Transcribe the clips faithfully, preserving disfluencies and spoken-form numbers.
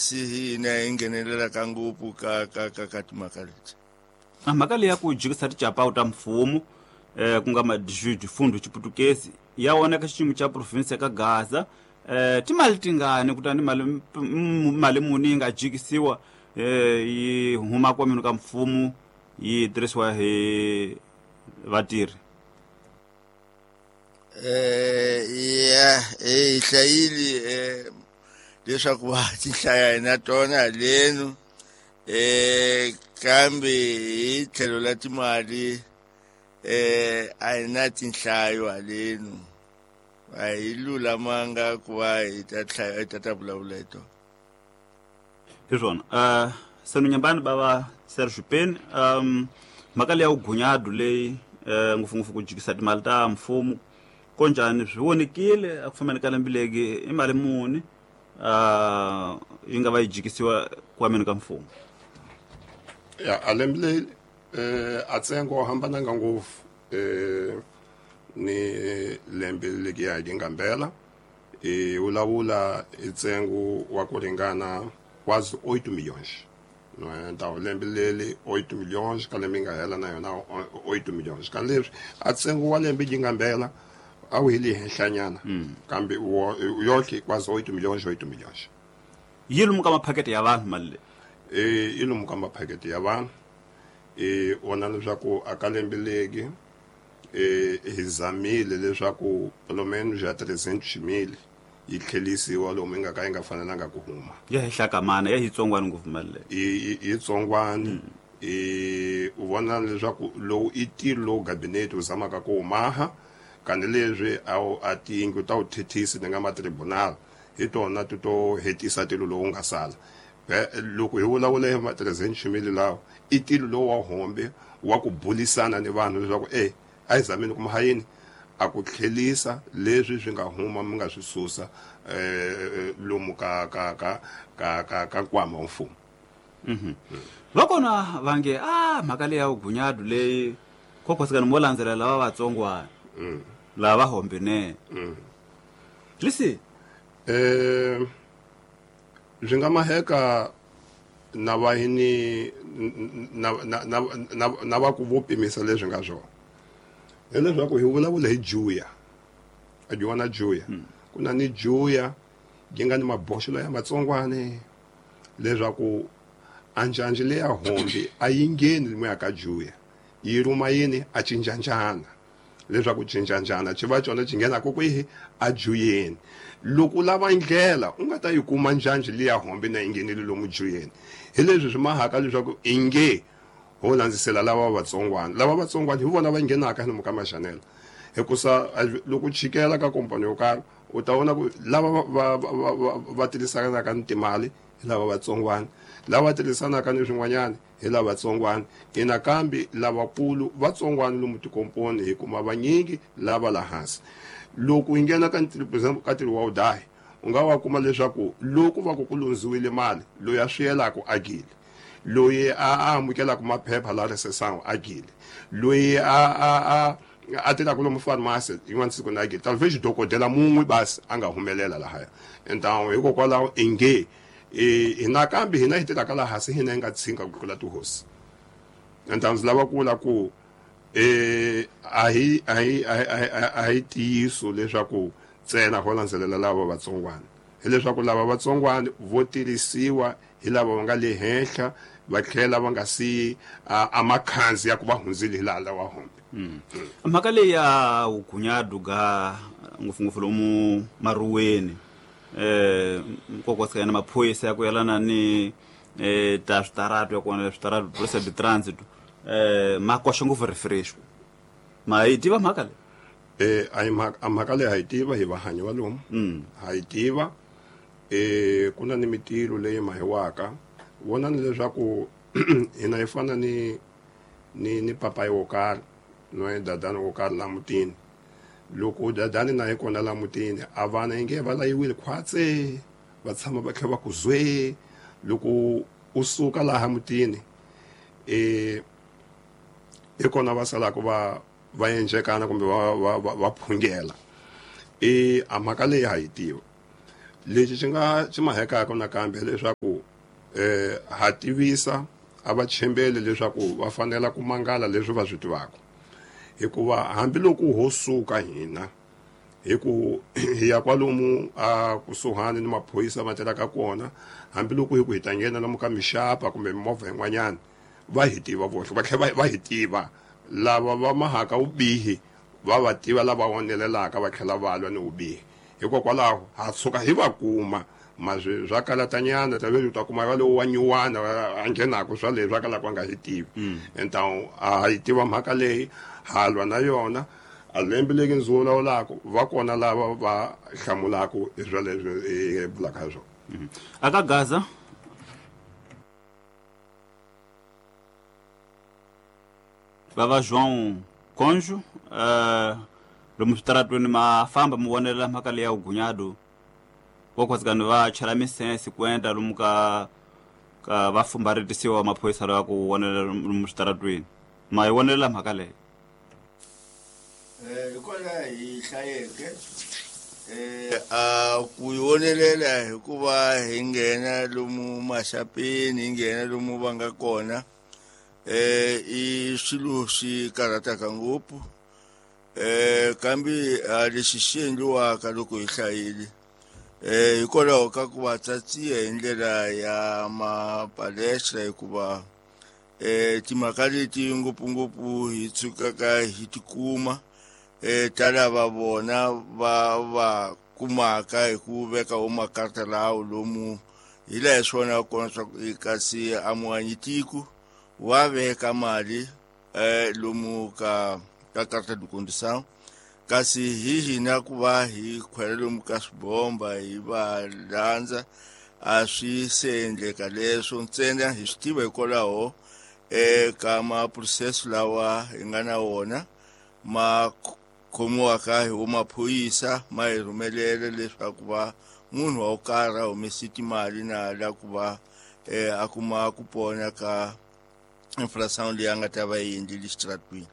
Si hina hi nghenelelaka ngopfu ka ka ka ka timhaka leti. A mhaka leyi ya ku jikisa ticapawu ta mfumo eh ku nga ma-dix-huit fundo chiputukezi ya wona ka xiyimo xa province ka Gaza eh timali tingani kutani mali mali muni yi nga jikisiwa eh yi huma kwamino ka mfumo yi tirhisiwa hi vatirhi? Eh ya eh hlayile eh leswaku va ti hlaya na tona halenu eh kambe hi tlhelo la timali eh a hi na tinhlayo halenu, a hi lulamanga ku va hi ta hlaya hi ta ta vulavula hi tona. Hi swona um Senunyambani bava Serge Pen um mhaka leyi ya vugunyadu leyi um ngopfungopfu ku jikisa timali ta mfumo konjhani swi vonekile a ku fambeni ka lembe legi i mali muni uh yi nga va yi jikisiwa kwameni ka mfumo? Ya a lembe leyi eh a tsengo wu hambananga ngopfu eh ni lembe legi ya yi nga mbela e vulavula hi ntsengo wa ku ringana quase oito milhões, não é? Então lembe leli oito milhões ka lembe nga hela na yona oito milhões ka leswi a ntsengo wa lembe yi nga mbela a wu hi le henhlanyana kambe yoke quase oito milhões oito milhões. Yi lomu ka maphaketi ya vanhu mali leyi? E yi lomu ka maphaketi ya vanhu. E vona leswaku a ka lembe legi e hi zamile leswaku pelo menos ya trezentos mil yi tlhelisiwa lomu yi nga ka yi nga fanelanga ku huma. Ya henhla ka mana ya yitsongwani ngopfu mali leyi. Yi yitsongwani e u vona leswaku lowu i ntirho lowu gabinete wu zamaka ku wu maha kani leswi a wu a tiyindlu ta wu thethisi ni nga matribunal hi tona ti to hetisa tilo lowu nga sala. Loko hi vulavula hi ma trezentos mil lawa i tilo lowu wa hombe wa ku bulisana ni vanhu leswaku e a hi zameni ku mahayini a ku tlhelisa leswi swi nga huma mi nga swi susa eh lomu ka ka ka ka ka ka nkwama wa mfumo. Mhm. Va kona va nge a mhaka leyi ya vugunyadu leyi kokhosikani mo landzelela lava vatsongwana lava hombene lisi eh swi nga maheka na va hini na na na na va ku vo pimisa leswi nga swona hileswaku hi vulavula hi juya a jiwana juya ku na ni juya yi nga ni maboxelo ya matsongwane leswaku anjanji leya hombi a yi ngheni limwe ka juya yi rhuma yini a cincanjana leswaku cincanjana xi va xona xi nghenaka kwihi a juyeni. Loko u lava ndlela u nga ta yi kuma njanji leya hombi na yi nghenile lomu juyeni. Hi leswi swi mahaka leswaku i nge ho landzisela lava vatsongwana lava vatsongwana hi vona va nghenaka lomu ka maxanela hikusa loko chikela ka kompani yo karhi u ta vona ku lava va va va tirhisanaka ni timali hi lava vatsongwana, lava tirhisanaka ni swin'wanyana hi lava vatsongwana, ina kambe lavakulu vatsongwana lomu tikomponi hi kuma vanyingi lava la hansi. Loko hi nghena ka ka ntirho wa vudahi u nga wa kuma leswaku loko va ku ku lundziwile mali loyi a swi yelaka a gile, loyi a amukelaka maphepha la risesangu a gile, loyi a a a a tirhaka lomu pharmacy yin'wana siku na gile, talvez dokodela mun'we basi a nga humelela lahaya. Então hikokwalaho i nge e nakambe hina hi tirhaka laha hansi hina hi nga tshinga ku tlula tihosi. Então ndzi lava ku vula ku eh a hi a hi a hi ntiyiso leswaku ntsena ho landzelela lava vatsongwana, hileswaku lava vatsongwana vo tirhisiwa hi lava va nga le henhla va tlhela va nga siyi a makhanzi ya ku va hundzile hi laha lawa hombe. Mhaka leyi ya vugunyadu ga ngopfungopfu lomu maruweni eh nkokosikana na maphorisa ya ku yelana ni eh ta switaratu ya kona switaratu polisa de transit eh ma koxa ngopfu refresh ma yi tiva mhaka leyi? Eh a hi mhaka mhaka leyi ha yi tiva hi vahanyi va lomu ha yi tiva. Eh ku na ni mitilo leyi mahiwaka vonani leswaku hina hi fana ni ni ni papayi wo karhi no dadani wo karhi la mutini. Loko dadani na hi kona la mutini a vana yi nge va layiwile khwatse va tshama va kha va ku zwe. Loko u suka laha mutini eh hi kona va salaka va va endlekana kumbe va va va, va phungela. E a mhaka leyi ha yi tiva. Lexi xi nga xi mahekaka nakambe leswaku eh ha tivisa a va chembele leswaku va fanela ku mangala leswi va swi tivaka hikuva hambiloko ho suka hina hi ku hi ya kwalomu a kusuhani ni maphorisa ma telaka kona hambiloko hi ku hi ta nghena lomu ka mixapa kumbe mimovha yin'wanyana va hi tiva vohle va tlhela va hi tiva lava va mahaka vubihi va va tiva lava onelelaka va tlhela va lwa ni vubihi hikokwalaho ha tshuka hi va kuma maswi swa kalatanyana ta ve u ta kuma va lowu wa nyuwana a nghenaka swa leswi va kalaka va nga hi tivi entawu a hi tiva mhaka leyi ha lwa na yona a lembe leri ndzi vulavulaka va kona lava va hlamulaka hi swa leswi hi vulaka hi swona aka Gaza Bava João Conjo uh, lomu switaratweni ma famba mu vonelela mhaka leyi ya vugunyado vo khotsikani va chela misense ku endla lomu ka ka va fumbaretisiwa maphorisa lawa ku vonelela lomu switaratweni ma yi vonelela mhaka leyi eh hikwalaho hi hlayeke eh a ku yi vonelela hikuva hi nghena lomu maxapeni hi nghena lomu va nga kona eh i swilo swi karhataka ngopfu eh kambe lexi xi endliwaka loko hi hlayile eh hikwalaho ka ku va tsatsiya hi ndlela ya mapalestra hikuva eh timhaka leti ngopfungopfu hi tshukaka hi tikuma eh ta lava vona va va kumaka hi ku veka wo makarta lawo lomu hi laha hi swi vonaka kona swa ku kasi a muhanyitiko wa veka mali eh lomu ka ka carta de condução kasi hi hina ku va hi khwela lomu ka swibomba hi va landza a swi se endleka leswo ntsena hi swi tiva hikwalaho eka ma-processo lawa hi nga na wona ma khomiwaka hi maphorisa ma hi rhumelela leswaku va munhu wa karhi a humesi timali na la ku va eh, a kuma ku pona ka infração leyi a nga ta va yi endlile xitaratweni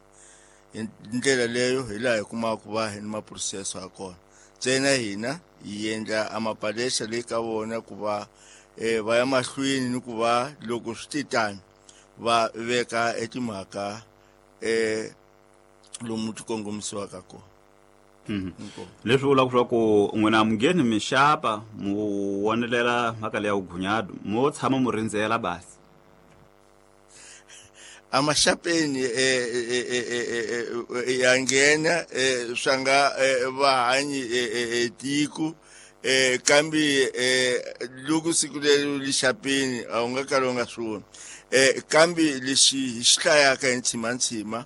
hi ndlela leyo hi laha hi kumaka ku va hi ni maprocesso ya kona ntsena hina hi endla a mapalesa leyi ka vona ku va eh, va ya mahlweni ni ku va loko swi te tano va veka etimhaka eh lomu ti kongomisiwaka kona leswi vulaka swa ku n'wina mi ngheni mixapa mu vonelela mhaka leyi ya vugunyado mo tshama mu rindzela basi amaxapeni eh eh ya nghena swa nga vahanyi tiko eh kambe eh loko siku lero lixapeni a wu nga kali u nga swi voni eh kambe lexi hi xi hlayaka hi ntshimantshima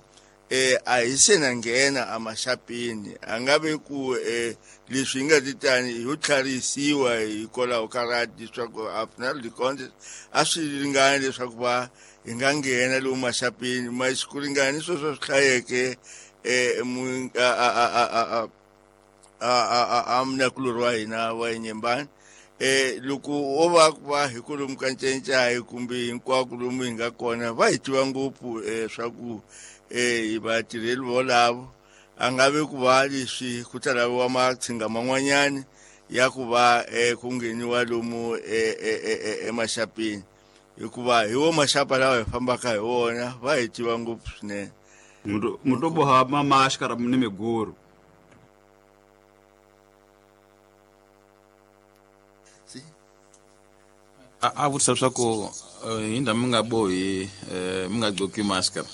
eh a hi se na nghena amaxapeni a nga ve ku eh leswi hi nga ti tani hi yo tlharisiwa hikwalaho ka radi leswaku a final de compte a swi ringani leswaku va hi nga nghena lomu maxapeni ma ku ringani sweswo swi hlayeke eh mu a a a a a a a munakulori wa hina wa Nyembani eh loko o va va hi kolomu ka Ncencai kumbe hinkwako lomu hi nga kona va hi tiva ngopfu eh swa ku eh hi vatirheli volavo a nga ve ku va leswi ku ta laviwa matshinga man'wanyani ya ku va eh ku ngheniwa lomu eh emaxapeni hikuva hi wo maxapa lawa hi fambaka hi wona va hi tiva ngopfu swinene mu to boha mamaxikara ni miguru a vutisa leswaku hi ndhawu mi nga bohi mi nga gqoki maskara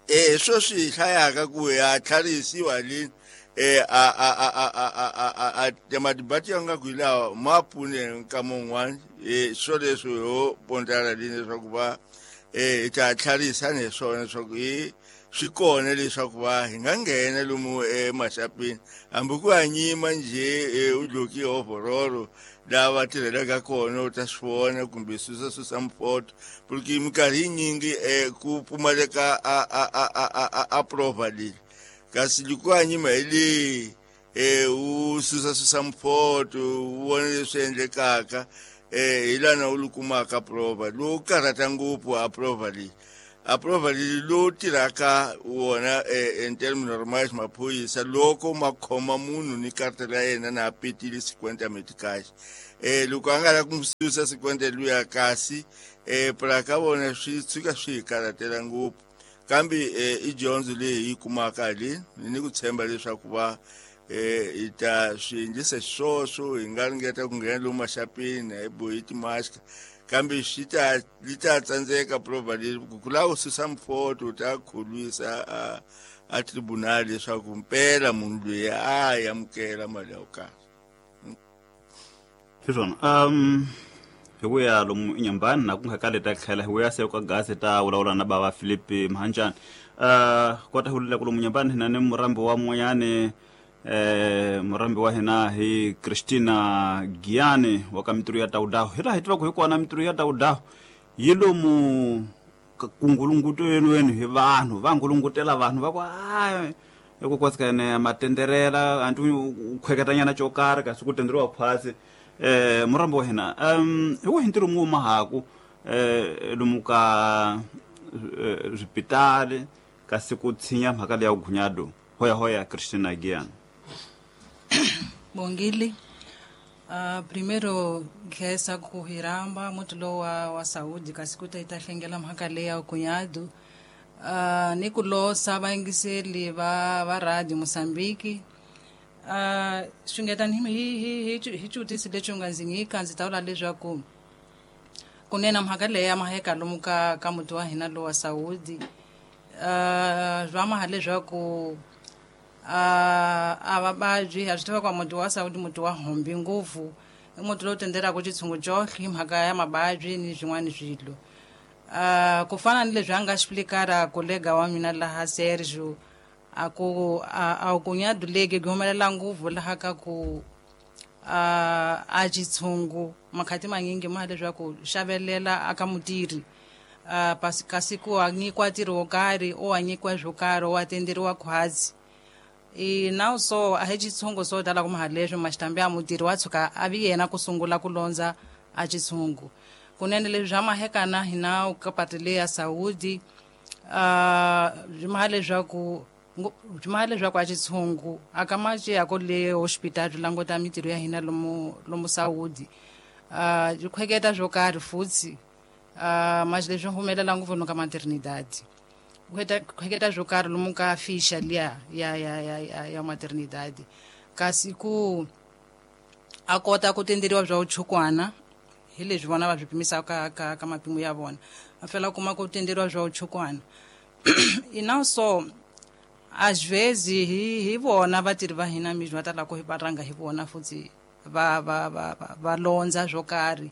eh sweswi hi hlayaka ku ya tlharisiwa lini eh a a a a a a a a madibati ya nga ku hi lawa ma pfune nkama wun'wani eh swo leswi ho pondala lini leswaku va eh hi ta tlharisa ni hi swona leswaku hi swi kona leswaku va hi nga nghena lomu emaxapeni hambi ku ya nyima njhe u dloki overall laha va tirhelaka kona u ta swi vona kumbe susa susa mfoto porque minkarhi yinyingi um ku pfumaleka a a a a a a prova leyi kasi loko a nyima hi leyi um u susa susa mfoto u vona leswi endlekaka um hi lana u li kumaka prova lowu karhata ngopfu a prova leyi A prova leyi lowu tirhaka wona eh, in terms normais maphorisa loko ma khoma munhu ni karata ya yena na a petile cinquenta meticais eh loko a nga la ku n'wi susa cinquenta luya kasi eh pra ka vona swi tshuka swi hi karhatela ngopfu kambe eh, i dyondzo leyi hi yi kumaka le ni ku tshemba leswaku va eh hi ta swi endlisa xiswoswo hi nga ringeta ku nghena lomu maxapeni hi bohi timask kambe swi ta li ta tsandzeka prova leyi ku lava ku susa mfoto u ta kholwisa a a tribunal leswaku mpela munhu loyi a yi amukela mali ya ku karhi hi swona um hi ku ya lomu inyambani na ku nga kale ta tlhela hi vuya se ka gasi ta vulavula na bava Philip Mahanjani uh kota hi vulela ku lomu nyambani hina ni murambi wa mun'wanyani eh murambi wa hina hi Christina Giani wa ka mitirho ya Tawudaho hi laha hi tivaka hi kona mitirho ya Tawudaho yi lomu kungulungutweni hi vanhu va ngulungutela vanhu va ku a eku kwasikane matenderela anti u khweketanyana xo karhi kasi ku tenderiwa phasi eh murambi wa hina um hi wihi ntirho mu mahaku eh lomu ka swipitali kasi ku tshinya mhaka leya gunyado hoya hoya Christina Giani. Bongile. Uh, primeiro khensa ku hiramba muti lowu wa, wa saúde kasi ku ta yi ta hlengela mhaka leyi ya cunhado. Uh, ni ku losa vayingiseli va va radio Moçambique. Uh, xungeta ni hi hi hi hi xivutiso lexi u nga ndzi nyika ndzi ta vula leswaku kunene mhaka leyi ya maheka lomu ka ka muti wa hina lowa saúde. Uh, swa maha leswaku uh, a va vabyi ha swi tiva ku muti wa saúde muti wa hombi ngopfu i muti lowu tendelaka xitshungu cohle hi mhaka ya mavabyi ni swin'wana swilo. Uh, ku fana ni leswi a nga xiplikara kolega wa mina laha Sergio a ku a a kunyadu leki ku humelela ngopfu laha ka ku uh, a xitshungu makhati manyingi ma leswaku xavelela aka mutirhi. Uh, pasi kasi ku a nyikiwa ntirho wo karhi o a nyikiwa swo karhi o a tenderiwa khwazi i now so a hi xitshungu swo tala ku maha leswo maxitambi ya mutirhi wa tshuka a vi yena ku sungula ku londza a xitshungu kunene leswi swa mahekana hina ka pati leyi ya saúde uh, swi maha leswaku swi maha leswaku a xitshungu a ka maciyako le hospital swi languta mitirho ya hina lomu lomu saúde uh, swi khweketa swo karhi futhi uh, mas leswi humelela ngopfu no ka maternidade khweketa swo karhi lomu ka ficha liya ya ya ya ya, ya maternidade kasi ku a kota ku tenderiwa bya vuchukwana hi leswi vona va swi pimisaka ka ka, ka mapimo ya vona va fela kuma ku tenderiwa bya vuchukwana ina so às vezes hi hi vona vatirhi va hina mizwi va talaka hi va rhanga hi vona futhi va va va va, va londza swo karhi.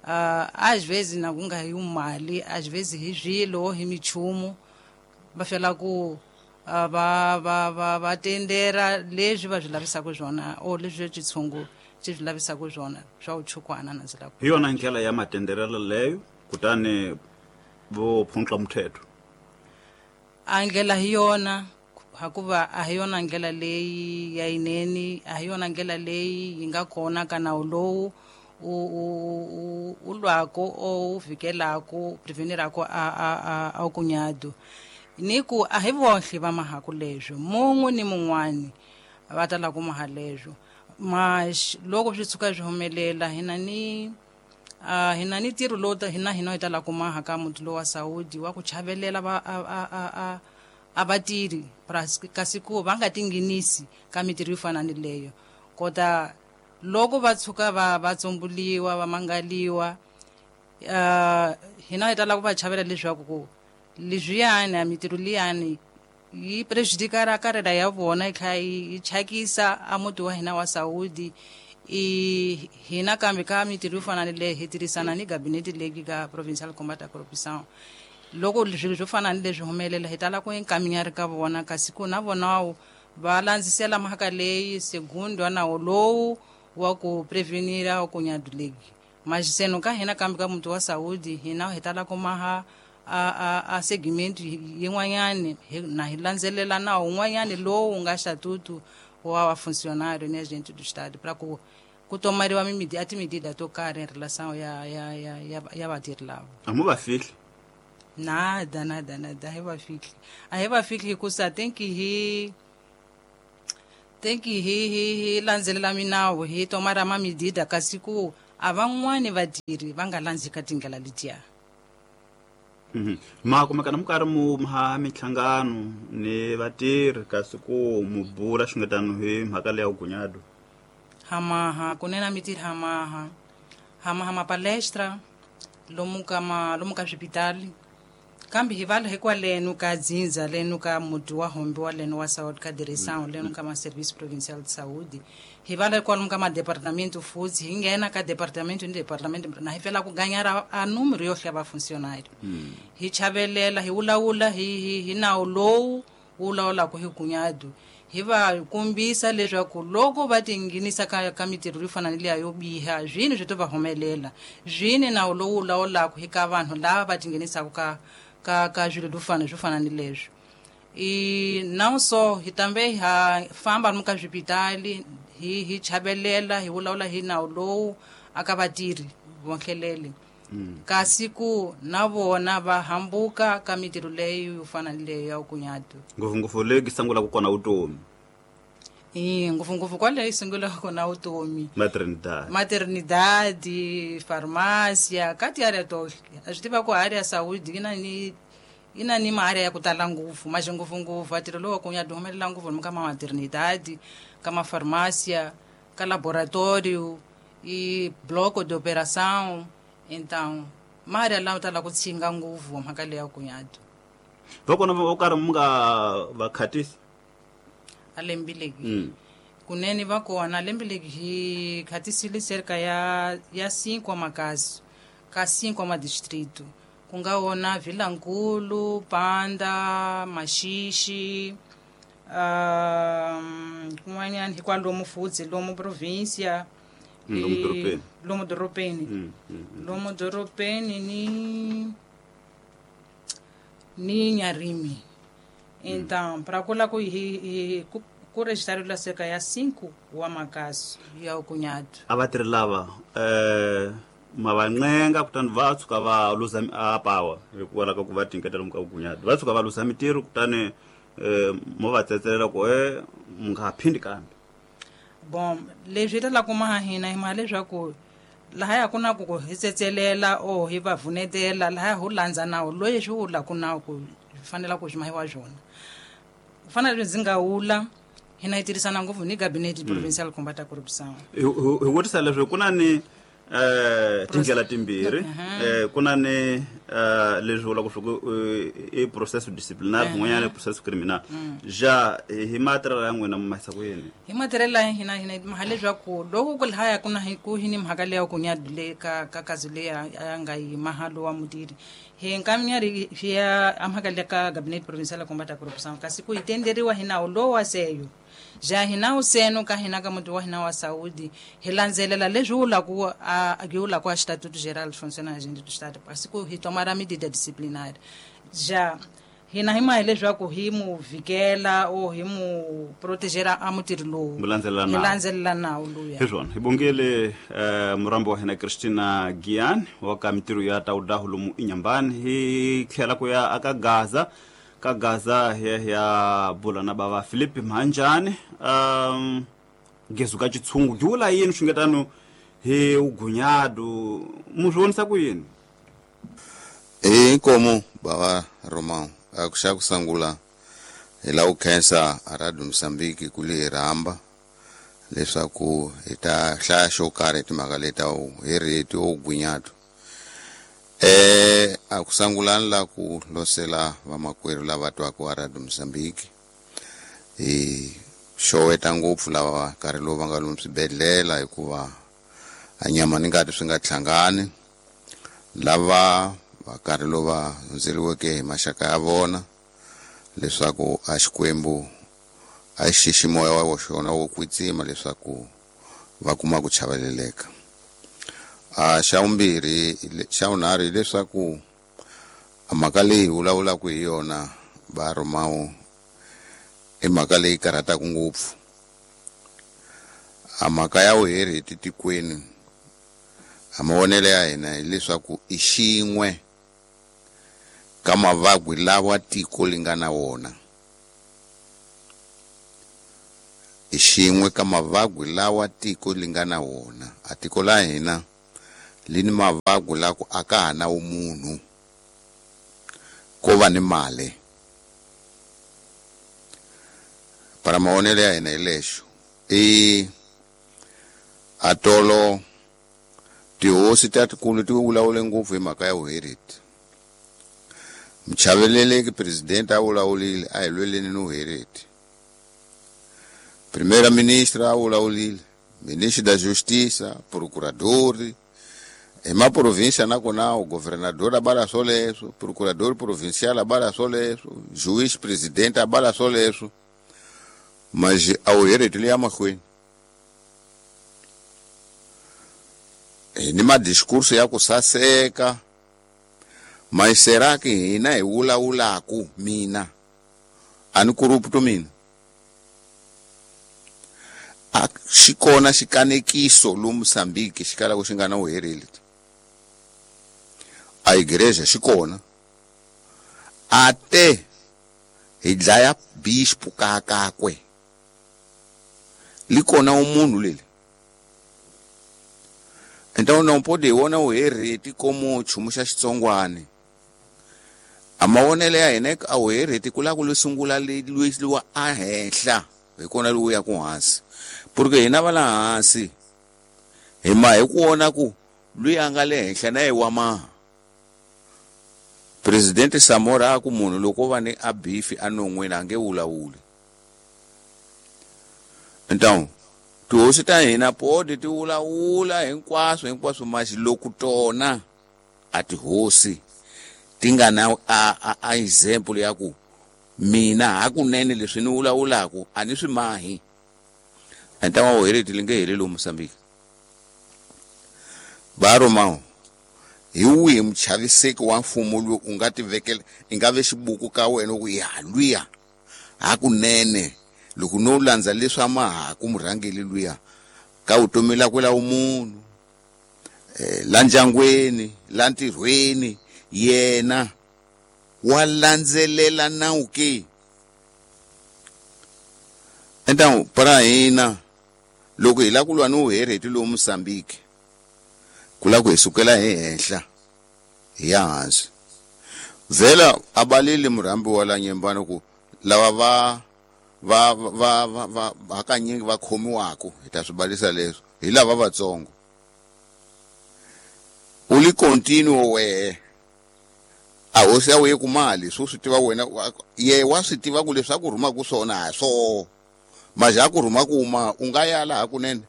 Uh, às vezes na ku nga hi mali às vezes hi swilo hi michumu va fela ku uh, va va va va tendera leswi va swi lavisaka swona o leswi xitshungu xi swi lavisaka swona swa vuchukwana na ndzi hi yona ndlela ya matenderelo leyo kutani vo phunxa mthetho a ndlela hi yona hakuva a hi yona ndlela leyi ya yinene a hi yona ndlela leyi yi nga kona ka nawu lowu u u u lwako o u vikelako prevenirako a a a a kunyado ni ku a hi vohle va mahaku leswo mun'we ni mun'wani va tala ku maha leswo mas loko swi tshuka swi humelela hina ni uh, hina ni ntirho lowu hina hina hi tala ku maha ka muti lowa saúde wa ku chavelela va a a a a a vatirhi kasi ku va nga tinghenisi ka mitirho yo fana ni leyo kota loko va tshuka va va tsumbuliwa va mangaliwa uh, hina hi tala ku va chavela leswaku ku leswiyani mitirho liyani yi prejudikara karela ya vona yi kha yi thyakisa a muti wa hina wa saúde i hina kambe ka mitirho yo fana ni leyi hi tirhisana ni gabinete leyi ka provincial combat a corruption loko swilo swo fana ni leswi humelela hi tala ku encaminhar ka vona kasi ku na vona va landzisela mhaka leyi segundo nawu lowu wa ku prevenira ku nyaduleki mas seno ka hina kambe ka muti wa saúde hina hi tala ku maha a a a segment yin'wanyani na hi landzelela nawu wun'wanyani lowu nga statuto wa wa funcionário ni agente do estado para ku ku tomariwa mimidi a timedida to karhi em relação ya ya ya ya, ya vatirhi lava a mu va fihli Nada, nada, nada, a hi va fihli. A hi va fihli hikusa think hi think hi hi hi landzelela minawu hi tomara ma midida kasi ku a van'wani vatirhi va nga landzi ka tindlela letiya. Mhm. Ma kumeka na minkarhi mu ha minhlangano ni vatirhi kasi ku mu bula xungetano hi mhaka leya vugunyado. Hamaha kunena mitirhi hamaha hamaha ma palestra lomu ka ma lomu ka swipitali kambe hi vala hikwaleno ka dzindza leno ka muti wa hombi wa leno wa saúde ka direção leno ka ma serviço provincial de saúde hi vala kwalomu ka madepartamento futhi hi nghena ka departamento ni departamento na hi fela ku ganyara a número yo hlaya vafuncionário hi chavelela hi wulawula hi hi hi nawu lowu wu lawulaka hi gunyado hi va kombisa leswaku loko va tinghenisa ka ka mitirho yo fana ni liya yo biha swini swi to va humelela swini nawu lowu lawulaka hi ka vanhu lava va tinghenisaka ka ka ka swilo swo fana swo fana ni leswi i não só hi tambe ha famba lomu ka swipitali hi hi chavelela hi vulavula hi nawu lowu aka vatirhi vonhlelele kasi ku na vona va hambuka ka mitirho leyi yo fana ni leyo ya vukunyado ngopfungopfu leyi sungulaka kona vutomi. I ngopfungopfu kwale yi sungulaka kona vutomi maternidade maternidade farmácia ka tiarea tohle a swi tiva ku área ya saúde yi na ni yi na ni maarea ya ku tala ngopfu mas ngopfungopfu vatirhi lowu kunyado humelela ngopfu lomu ka ma maternidade ka ma farmácia ka laboratório e bloco de operação. Então maarea lawa tala ku tshinga ngopfu mhaka leyi ya kunyado. Va kona vo karhi mu nga va khatisi a lembileki kunene va kona lembileki hi khatisile cerca ya ya cinco makazi ka cinco ma distrito ku nga wona Vilankulu, Panda, Maxixi, um kun'wanyana hi kwalomu futhi lomu província lomu dorobeni lomu dorobeni lomu dorobeni ni ni Nyarimi. Então para kula ku hi ku ku registrariwa cerca ya cinco wa makazi ya ukunyado. A vatirhi lava eh ma va ncenga kutani va tshuka va luza a power hikwalaho ka ku va tinyiketela lomu ka vugunyado va tshuka va luza mitirho kutani eh mo va tsetselela ku e mi nga ha phindi kambe. Bom leswi hi talaka maha hina hi mhaka leswaku lahaya ku na ku ku hi tsetselela or hi va vunetela lahaya ho landza nawu loyi swi wulaku nawu ku fanela ku swi mahiwa swona ku fana na leswi ndzi nga wula hina hi tirhisana ngopfu ni gabinete provincial combate corruption. Hi hi vutisa leswi ku na ni eh tindlela timbirhi eh ku na ni eh leswi vulaka swa ku i processo disciplinar kun'wanyana i processo criminal ja hi matirhelo ya n'wina mi mahisa ku yini? Hi matirhelo ya hina hina mhaka leswaku loko ku lahaya ku na ku hi ni mhaka leya ku nyado le ka ka kazi leya ya nga yi mahalo wa mutirhi hi nkaminyari hi ya a mhaka le ka gabinete provincial combate corruption kasi ku hi tenderiwa hi nawu lowu wa seyo ja hina useno ka hina ka muti wa hina wa saúde hi landzelela leswi wulaku a a wulaku a Estatuto Geral de Funcionamento do Estado kasi ku hi tomara medida disciplinar ja hina hi mahi leswaku hi mu vikela or hi mu protegera a mutirhi lowu Mu landzelela hi nawu. landzelela nawu luya. Hi swona hi bongele eh murambi wa hina Christina Gian wa ka mitirho ya Taudahu lomu Inyambani hi tlhela ku ya aka Gaza ka Gaza hi ya hi ya bula na bava Philip Mhanjani um gezu ka chitshungu byi yini xungetano hi ugunyado mu swi vonisa ku yini? Inkomu bava Romão a ku xa ku sungula hi lava ku khensa a Radio Mozambique ku li hi rhamba leswaku hi ta hlaya xo karhi hi timhaka leti ta hi reti wo gwinyato. Eh a ku sungula ni la ku losela vamakwerhu lava twaka a Radio Mozambique hi xoweta ngopfu lava nkarhi lowu va nga lomu swibedhlele hikuva a nyama ni ngati swi nga tlhangani lava va nkarhi lowu va hundzeriweke hi maxaka ya vona leswaku a Xikwembu a xi xixi moya wa xona wo kwetsima leswaku va kuma ku chaveleleka. A xa vumbirhi xa vunharhu hileswaku a mhaka leyi hi vulavulaka hi yona va Romão i mhaka leyi karhataka ngopfu. A mhaka ya vuherhi tikweni a mavonelo ya hina hileswaku i xin'we ka mavabyi lawa tiko li nga na wona. I xin'we ka mavabyi lawa tiko li nga na wona. A tiko la hina li ni mavabyi la ku a ka ha na wumunhu, ko va ni mali. Para mavonelo ya hina hi lexo i atolo tihosi ta tikulu ti vulavule ngopfu hi mhaka ya vuheriti. Muchaveleleki president a vulavulile a hi lweleni ni vuheriti. Primeira ministra a vulavulile, ministro da justiça, procurador hi maprovinsia na kona o governador a bala swoleswo, procurador provincial a bala swoleswo, juiz presidente a bala swoleswo, mas a vuheriti li ya mahlweni. Ni madiskurso ya ku saseka, mas será que hina hi vulavulaku mina a ni corrupto mina? A xi kona xikanekiso lomu Mozambique xi kalaka xi nga na vuheriti. A igreja xi kona, a te hi dlaya bispo kakakwe li kona umunhu leli. Então não pode vona vuheriti como nchumu xa xitsongwani. A mavonelo ya hina a vuheriti ku lava ku sungula lwiwa a henhla hi kona lowu ya ku hansi, porque hina va la hansi hi ma hi ku vona ku lwiya a nga le henhla na ye wa maha. Presidente Samora a ku munhu loko va ni a bifi a non'wini a nge vulavuli. Então tihosi ta hina pode ti vulavula hinkwaswo hinkwaswo, mas loko tona a tihosi ti nga na a, a, a example ya ku mina hakunene leswi ni vulavulaku a ni swi mahi, então vuheriti li nge heli lomu Mozambique. Va Romão, hi wihi muchaviseki wa mfumo lowu u nga tivekela i nga ve xibuku ka wena ku ya lwiya hakunene loko no landza leswi a mahaku murhangeli luya ka vutomi lakwe la vumunhu, eh, la ndyangwini, la ntirhweni, yena wa landzelela nawu ke? Então para hina loko hi lava ku lwa ni vuheriti lomu Mozambique, ku lava ku hi sukela hi henhla hi ya hansi. Vhela a balile murhambi wa la Nyembani ku lava va va va va va hakanyingi va khomiwaka hi ta swi balisa leswo hi lava vatsongo. U li continuo wehe a hosi ya wehe ku mali swo swi tiva wena ye wa swi tiva ku leswi a ku rhumaku swona ha swo maja a ku rhumaku ma u nga ya laha kunene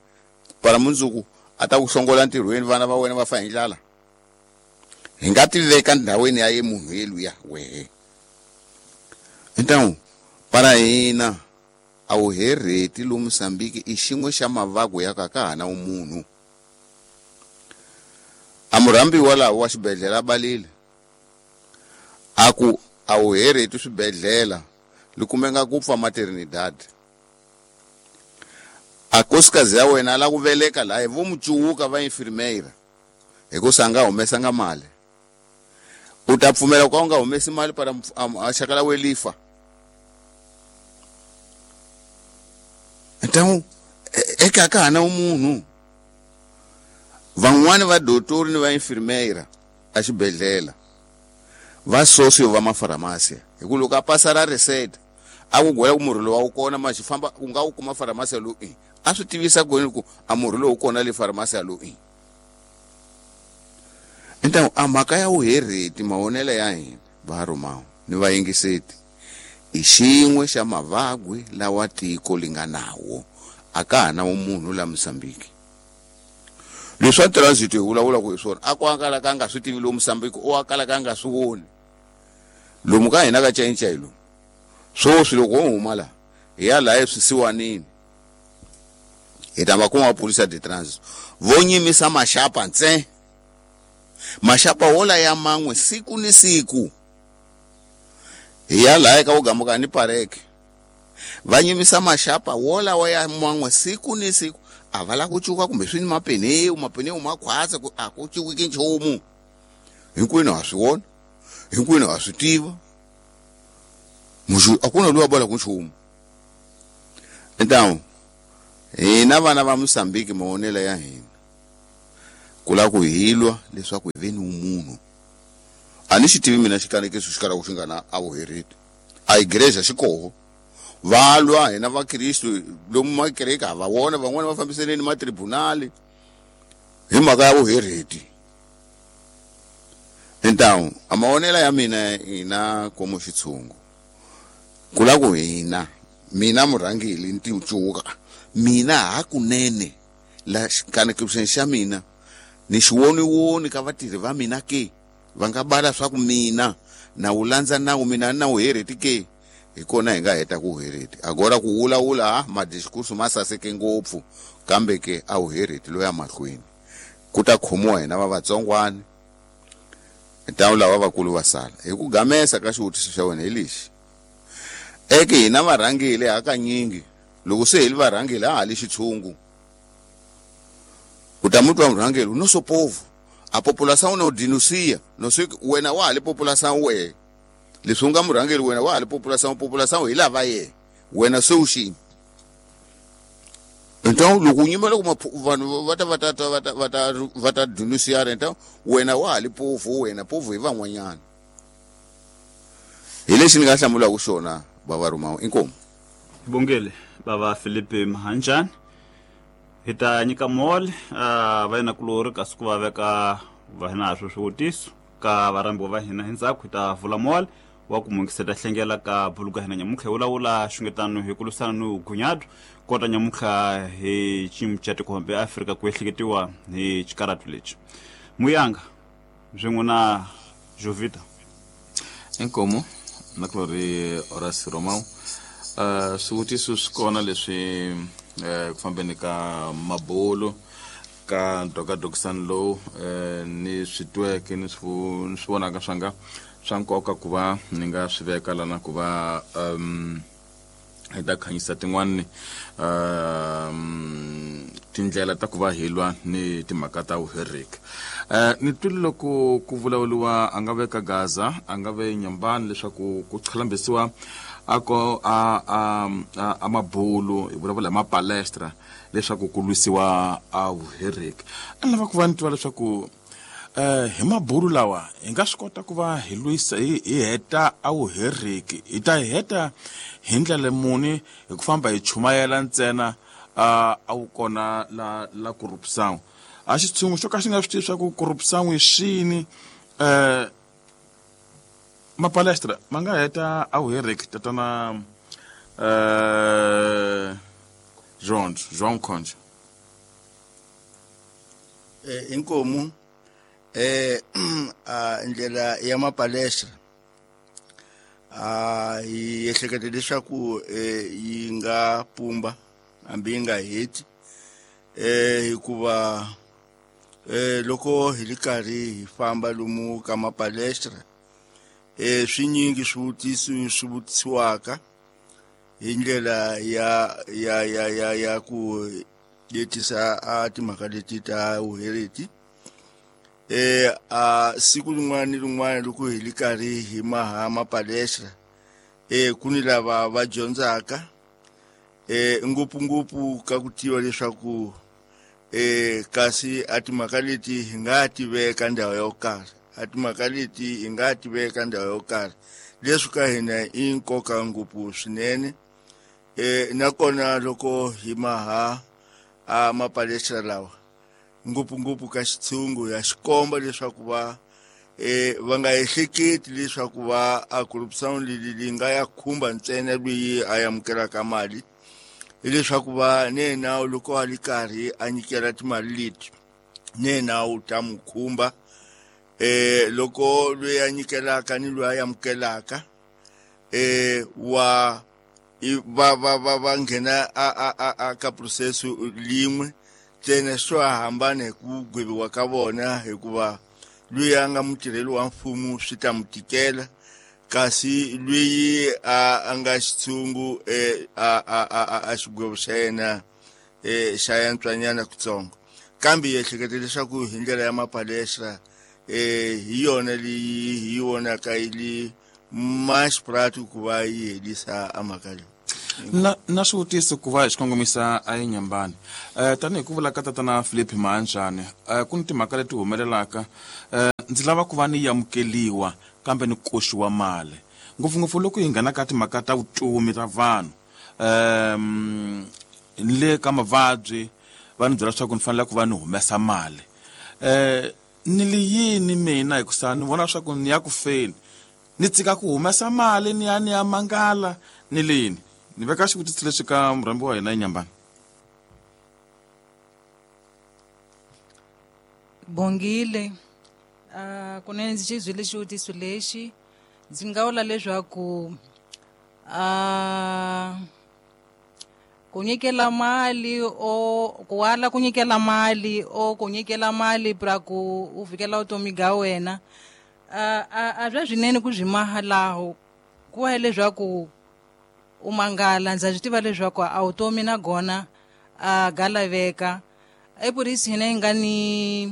para mundzuku a ta ku hlongola ntirhweni vana va wena va fa hi ndlala. Hi nga tiveka ndhawini ya ye munhu yeluya wehe. Então para hina a vuheriti lomu Mozambique i xin'we xa mavabyi ya ka ka ha na munhu. A murhambiwa laha wa xibedhlele a balile a ku a vuheriti swibedhlele li kumeka ku pfa maternidad. A nkosikazi ya wena a lava ku veleka laha hi vo mucuwuka va infirmeira hikusa a nga humesanga mali. U ta pfumela ku ka u nga humesi mali para a xaka la we lifa. Então eka ka ha na munhu. Van'wani va dotori ni va infirmeira a xibedhlele va socio va mafaramasia hi ku loko a pasa ra reset a ku gwela ku murhi lowu a wu kona ma xi famba u nga wu kuma faramasia lowu i a swi tivisa kwini ku a murhi lowu kona le faramasia lowu i. Então a mhaka ya vuheriti mavonelo ya hina va Romão ni vayingiseti i xin'we xa mavabyi lawa tiko li nga nawo a ka ha na munhu la Mozambique. Leswi swa transit hi vulavulaka hi swona a ku a kalaka a nga swi tivi lomu Mozambique o a kalaka a nga swi voni lomu ka hina ka cinca hi lomu. Swoswi loko ho huma laha hi ya laha eswisiwanini hi ta va kuma maphorisa de transit vo nyimisa maxapa ntsena, maxapa wola ya man'we siku ni siku. Hi ya laha eka vugamuka ni pareke va nyimisa maxapa wolawa ya man'we siku ni siku. A va lava ku cuka kumbe swi ni mapenewu mapenewu ma khwatsa ku a ku cuki nchumu hinkwenu ha swi vona. Hinkwenu ha swi tiva. Muxu a ku na loyi a bolaka nchumu. Então hina vana va Mozambique mavonelo ya hina ku lava ku hilwa leswaku hi ve ni vumunhu. A ni xi tivi mina xikanekiso xi kalaka xi nga na a vuhereti. A igreja xi koho. Va lwa hina vakristu lomu makereke ha va vona van'wana va fambisene ni matribunali hi mhaka ya vuhereti. Então a mavonelo ya mina hina komo xitshungu ku lava ku hina mina murhangeri ni ticuka mina hakunene la xikanekiso xa mina ni xi voniwoni ka vatirhi va mina ke va nga bala swa ku mina na wu landza nawu mina na wu hereti ke hi kona hi nga heta ku hereti. Agora ku wulawula madiskurso ma saseke ngopfu kambe ke a wu hereti loya mahlweni ku ta khomiwa hina va vatsongwana ntawu lava vakulu va sala. Hi ku gamesa ka xivutiso xa wena hi lexi eke hina varhangeri hakanyingi loko se hi li varhangeri a ha li xitshungu u ta mutwa murhangeri nosso povo a população não denuncia não sei wena wa ha li população we leswi u nga murhangeri wena wa ha li população população hi lava ye wena se u xini. Então loko u nyimela ku vanhu va ta va ta va ta va ta va ta denunciar então wena wa ha li povo wena povo hi van'wanyana. Hi lexi ni nga hlamulaka xona bava Rumawu inkomu. Bongele bava Felipe Mahanjani hi ta nyika mall va yena kulori kasi ku va veka va hina swo swivutiso ka varhambiwa va hina hindzhaku hi ta vula mall wa ku mungiseta hlengela ka buluka hina nyamutlha hi vulavula xungetano hi ku lwisana ni vugunyadu kota nyamutlha hi xiyimo xa tikhombe Afrika ku ehleketiwa hi xikaratu lexi. Muyanga swin'we na Jovita. Inkomu na kulori Horace Romao. Uh, swivutiso swi kona leswi eh, ku fambeni ka mabulu ka ndokadokisani lowu eh, ni swi tweke ni swi ni swi vonaka swa nga swa nkoka ku va ni nga swi veka lana ku va um, hi ta khanyisa tin'wani um, tindlela ta ku va hi lwa ni timhaka ta vuheriki. Eh, ni twile loko ku vulavuriwa a nga veka Gaza a nga ve Nyambani leswaku ku qhalambisiwa a ko a a a mabulu hi vulavula hi mapalestra leswaku ku lwisiwa a vuheriki. A ni lava ku va ni tiva leswaku eh hi mabulu lawa hi nga swi kota ku va hi lwisa hi hi heta a vuheriki hi ta hi heta hi ndlela muni hi ku famba hi chumayela ntsena a a wu kona la la corruption a xitshungu xo ka xi nga swi tivi swa ku corruption i xini eh mapalestra ma nga heta a vuheriki tatana eh João João Conde. Eh inkomu eh a ndlela ya mapalestra a hi ehleketa leswaku yi nga pumba hambi yi nga heti eh hikuva eh loko hi li karhi hi famba lomu ka mapalestra eh swinyingi swivutiso swi vutisiwaka hi ndlela ya ya ya ya ya ku letisa a timhaka leti ta vuhereti. Eh a siku rin'wana ni rin'wana loko hi li karhi hi maha mapalestra eh ku ni lava va dyondzaka eh ngopfungopfu ka ku tiva leswaku eh kasi a timhaka leti hi nga ti veka ndhawu yo karhi a timhaka leti hi nga ti veka ndhawu yo karhi leswi ka hina i nkoka ngopfu swinene. Eh nakona loko hi maha a mapalestra lawa ngopfungopfu ka xitshungu ya xikomba leswaku va eh va nga ehleketi leswaku va a corruption leyi yi nga ya khumba ntsena loyi a amukelaka mali hileswaku va ne nawu loko a li karhi a nyikela timali leti ne nawu ta mu khumba eh loko loyi a nyikelaka ni loyi a amukelaka eh wa va va va va nghena a a a ka process lin'we ntsena swo hambana hi ku gweviwa ka vona hikuva loyi a nga mutirheli wa mfumo swi ta mu tikela kasi loyi a a nga xitshungu eh a a a a xigwevo xa yena eh xa yantswanyana kutsongo. Kambe hi ehleketa leswaku hi ndlela ya mapalestra eh hi yona leyi hi vonaka yi li mais prático ku va yi herisa a mhaka leyi. Na na swivutiso ku va hi xikongomisa a eNyambani um tanihi ku vula ka tatana Philip Manjani um ku ni timhaka leti humelelaka um ndzi lava ku va ni amukeliwa kambe ni koxiwa mali ngopfungopfu loko hi nghena ka timhaka ta vutomi ta vanhu um le ka mavabyi va ni byela leswaku ni fanele ku va ni humesa mali um ni li yini mina hikusa ni vona leswaku ni ya ku feni ni tshika ku humesa mali ni ya ni ya mangala ni lini ni veka xivutiso lexi ka murhambi wa hina eNyambani. Bongile uh, kunene ndzi xi byile xivutiso lexi ndzi nga vula leswaku uh, ku nyikela mali o ku ala ku nyikela mali o ku nyikela mali pra ku u vikela vutomi bya wena a a swa swinene ku byi maha laho ku va leswaku u mangala ndza swi tiva leswaku a vutomi na gona a ga laveka epurisi hina hi nga ni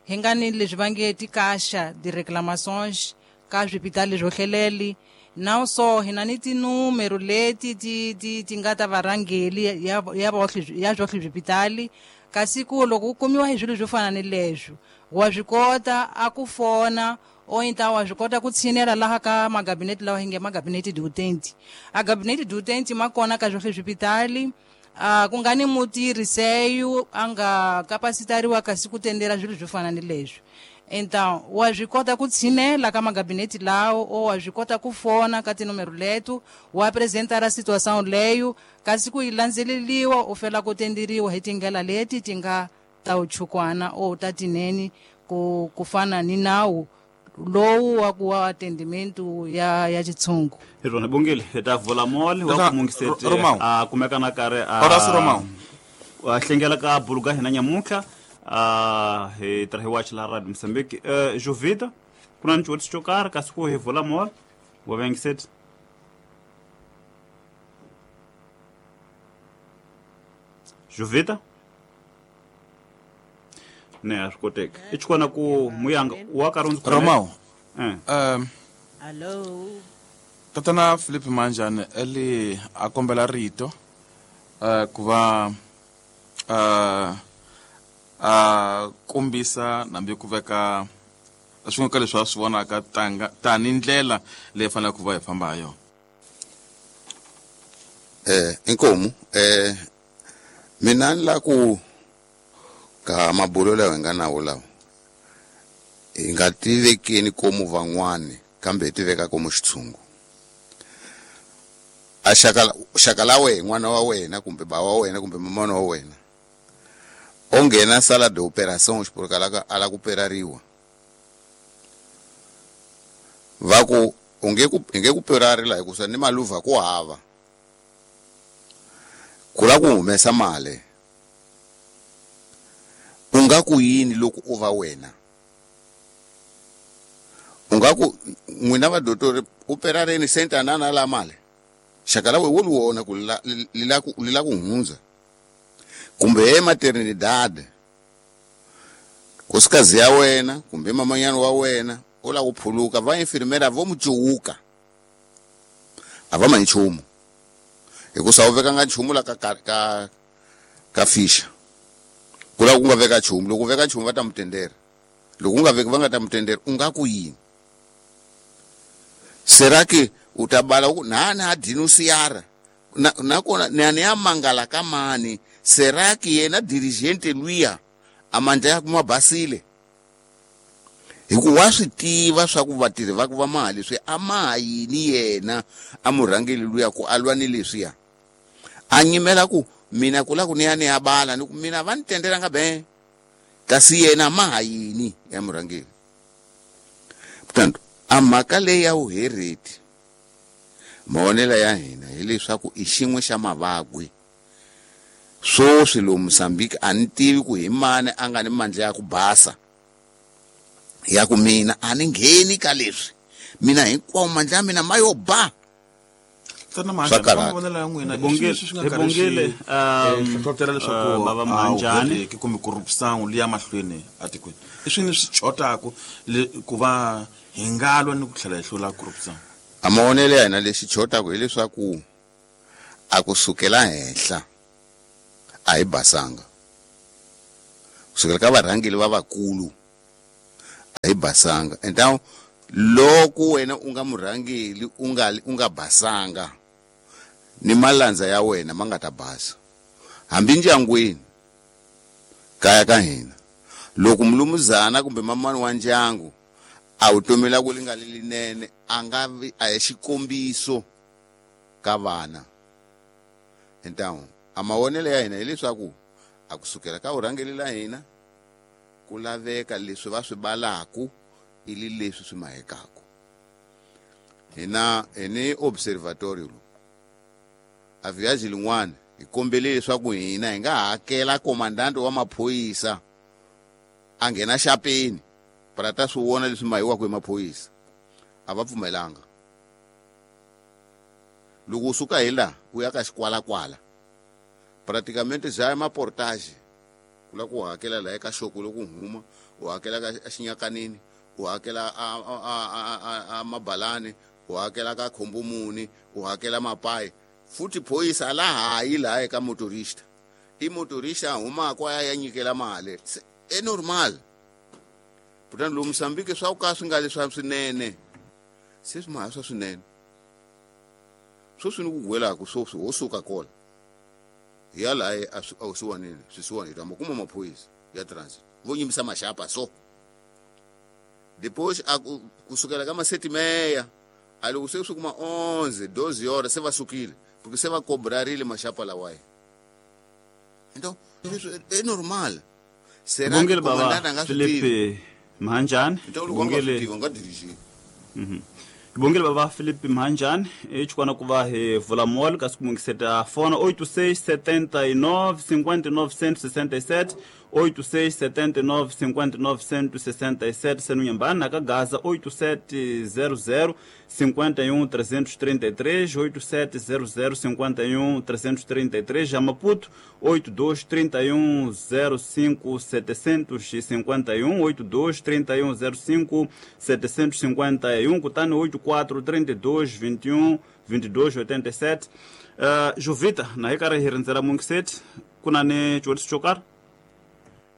hi nga ni leswi va nge ti-caixa de reclamações ka swipitali swo hleleli não só hina ni tinúmero leti ti ti ti nga ta varhangeli ya ya ya swo swipitali kasi ku loko u kumiwa hi swilo swo fana ni leswo wa swi kota a ku fona ou então wa swi kota ku tshinela laha ka magabinete lawa hi nge magabinete de utente a gabinete de utente ma kona ka swo swipitali a ku nga ni mutirhi seyo a nga kapasitariwa kasi ku tendela swilo swo fana ni leswo. Então wa swi kota ku tshinela ka magabinete lawo ou wa swi kota ku fona ka tinúmero leto wa apresentar a situação leyo kasi ku yi landzeleliwa u fela ku tenderiwa hi tindlela leti ti nga ta uchukwana ou ta tinene ku ku fana ni nawu lowu wa ku wa atendimento ya ya xitshungu. Hi rona Bongile hi ta vula mall wa ku mungisete a kumeka na karhi a a hlengela ka buluga hina nyamuntlha a hi tirha hi wachi la Radio Mozambique. Jovita ku na xivutiso xo karhi kasi ku hi vula mall wa vengisete. Jovita ne a swi koteki i xikona ku muyanga wa karhi ndzi Romao eh um Hello tatana Philip Manjani eli a kombela rito uh ku va uh a kombisa nambi ku veka swin'we ka leswi a swi vonaka tanga tani ndlela leyi faneleke ku va hi famba ha yona. Eh inkomu eh mina ni la ku ka mabulo lawa hi nga nawo lawa hi nga tivekeni komu van'wani kambe hi tiveka komu xitshungu a xaka xaka la wena n'wana wa wena kumbe ba wa wena kumbe mamana wa wena o nghena sala de operação porque ala ala ku perariwa va ku u nge ku nge ku perarila hikusa ni maluva ku hava ku la ku humesa mali u nga ku yini loko u va wena u nga ku n'wina va dotori u perareni sentanana la mali xaka la we wo wona ku la la ku la ku hundza kumbe e maternidade nkosikazi ya wena kumbe mamanyana wa wena u la ku phuluka va infirmera vo mu cuwuka a va ma nchumu hikusa u vekanga nchumu la ka ka ka, ka fisha ku la ku nga veka nchumu loko u veka nchumu va ta mu tendera loko u nga veki va nga ta mu tendera u nga ku yini será que u ta bala ku na na denunciar na nakona ni ya mangala ka mani será que yena dirigente luya amandla ya kuma basile hi ku wa swi tiva swa ku vatirhi va ku va mali swi a ma yini yena a murhangeli luya ku alwa ni leswiya a nyimela ku mina ku la ku ni ya ni ya bala ni ku mina va ni tendelanga be kasi yena ma ha yini ya murhangeli portanto a mhaka leyi ya vuhereti mavonelo ya hina hileswaku i xin'we xa mavagwi swoswi lomu Mozambique a ni tivi ku hi mani a nga ni mandla ya ku basa ya ku mina a ni ngheni ka leswi mina hinkwawo mandla ya mina ma yo ba Tsana manje mavonelo ya n'wina Bongile swi nga karhi Bongile hlohlotela leswaku baba Manjani ke kumbe corruption liya mahlweni atikweni i swini swi chotaku ku va hi nga lwa ni ku tlhela hi hlula corruption. A mavonelo ya hina lexi chotaku hileswaku a kusukela henhla a hi basanga, kusukela ka varhangeli va vakulu a hi basanga. Então loko wena u nga murhangeli u nga u nga basanga ni malandza ya wena ma nga ta basa. Hambi ndyangwini kaya ka hina loko mulumuzana kumbe mamani wa ndyangu a wu tomela ku li nga lelinene a nga vi a hi xikombiso ka vana. Então a mavonelo ya hina hileswaku a kusukela ka vurhangeli la hina ku laveka leswi va swi balaku ili leswi swi mahekaku. Hina hi ni observatory lo a viaji lin'wana hi kombele leswaku hina hi nga hakela komandante wa maphorisa a nghena xapeni para ta swi vona leswi mahiwaka hi maphorisa. A va pfumelanga. Loko u suka hi laha u ya ka xikwalakwala praticamente bya maportage ku la ku hakela laha eka xoko loko u huma u hakela ka xinyakanini u hakela a a a a mabalani u hakela ka khombomuni u hakela mapayi futhi phorisa la hayi laha eka motorista i motorista a humaka a ya nyikela mali e normal. Kutani lomu Mozambique swa ka swi nga leswa swinene se swi maha swa swinene sweswi ni ku gwelaku sweswi ho suka kola hi ya laha a wusiwanini swisiwani hi tama kuma maphorisa ya transit vo yimbisa maxapa so depois a kusukela ka masetimeya a loko se swi kuma onze doze horas se va sukile porque se va cobrarile maxapa lawaya. Então é normal. Será que Bongile baba comandante a nga swi tivi? Felipe Manjani Então loko a nga swi Bongile tivi a nga dirigir. Mhm. Bongile baba Felipe Manjani e chukwana ku va hi vula mall kasi ku mungiseta fona oito seis setenta e nove cinquenta e nove cento e sessenta e sete oito seis setenta e nove cinquenta e nove cento e sessenta e sete senu Nhambane ka Gaza oito sete zero zero cinquenta e um trezentos e trinta e três oito sete zero zero cinquenta e um trezentos e trinta e três já Maputo oito dois trinta e um zero cinco setecentos e cinquenta e um oito dois trinta e um zero cinco setecentos e cinquenta e um Kutani oito quatro trinta e dois vinte e um vinte e dois oitenta e sete. Uh, Jovita na hekara hirinzera mungiseti kuna ni xivutiso xo karhi?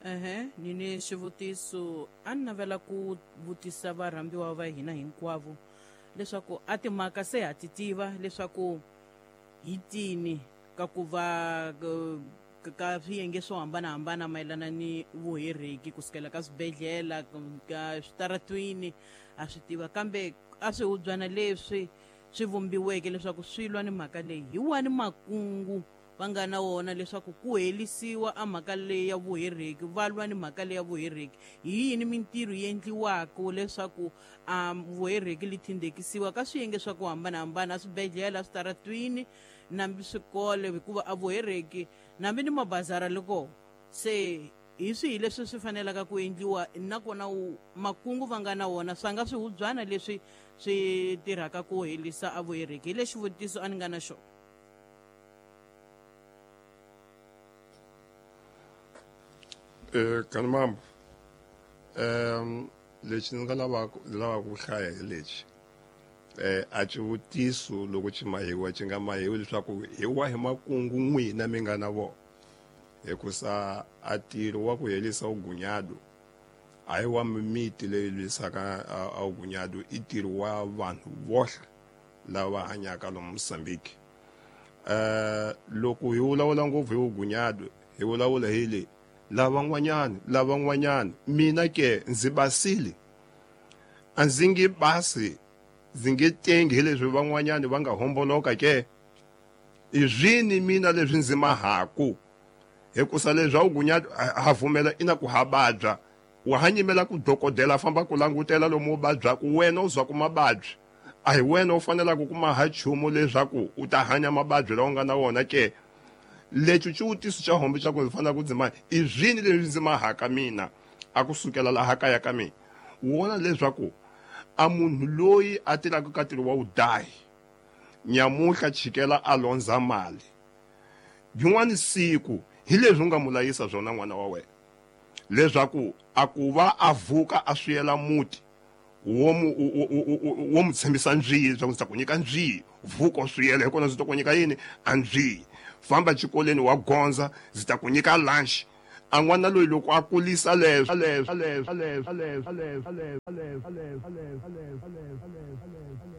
Ehe, ni ni xivutiso a ni navela ku vutisa varhambiwa va hina hinkwavo leswaku a timhaka se ha ti tiva leswaku hi tini ka ku va ka swiyenge swo hambanahambana mayelana ni vuhereki kusukela ka swibedhlele ka switaratwini a swi tiva kambe a swihubyana leswi swi vumbiweke leswaku swi lwa ni mhaka leyi hi wani makungu va nga na wona leswaku ku helisiwa a mhaka leyi ya vuhereki va lwa ni mhaka leyi ya vuhereki hi yini mintirho yi endliwaka leswaku um vuhereki li tindekisiwa ka swiyenge swa ku hambanahambana a swibedhlele a switaratwini nambi swikolo hikuva a vuhereki nambi ni mabazara loko se hi swihi leswi swi fanelaka ku endliwa nakona makungu va nga na wona swa nga swihubyana leswi swi tirhaka ku helisa a vuhereki hi lexi xivutiso a ni nga na xona. Eh kanimambo um lexi ni nga lavaka lavaka ku hlaya hi lexi eh a xivutiso loko xi mahiwa xi nga mahiwi leswaku hi wahi makungu n'wina mi nga na vona hikusa a ntirho wa ku herisa vugunyado a hi wa mimiti leyi lwisaka a vugunyado i ntirho wa vanhu vohle lava hanyaka lomu Mozambique. Eh loko hi vulavula ngopfu hi vugunyado hi vulavula hi le lavan'wanyani lavan'wanyani mina ke ndzi basile a ndzi nge basi ndzi nge tengi hi leswi van'wanyani va nga homboloka ke i swini mina leswi ndzi mahaku hikusa leswi a vugunyado ha pfumela ina ku ha vabya wa ha nyimela ku dokodela famba ku langutela lomu u vabyaku wena u zwa ku mavabyi a hi wena u fanelaka ku maha nchumu leswaku u ta hanya mavabyi lawa u nga na wona ke. Lexi xivutiso xa hombe xa ku ndzi fanele ku ndzi ma i swini leswi ndzi mahaka mina a kusukela laha kaya ka mina wona leswaku a munhu loyi a tirhaka ka ntirho wa vudahi Nyamuhla chikela a londza mali. Byin'wana siku hi leswi u nga mu layisa swona n'wana wa wena. Leswaku a ku va a vuka a swiyela muti wo mu wo mu tshembisa ndzwiyi leswaku ndzi ta ku nyika ndzwiyi, vuka u swiyela hikona ndzi ta ku nyika yini a ndzwiyi. Famba xikolweni wa gondza ndzi ta ku nyika lunch. A n'wana loyi loko a kulisa leswo leswo leswo leswo leswo leswo leswo leswo leswo leswo leswo.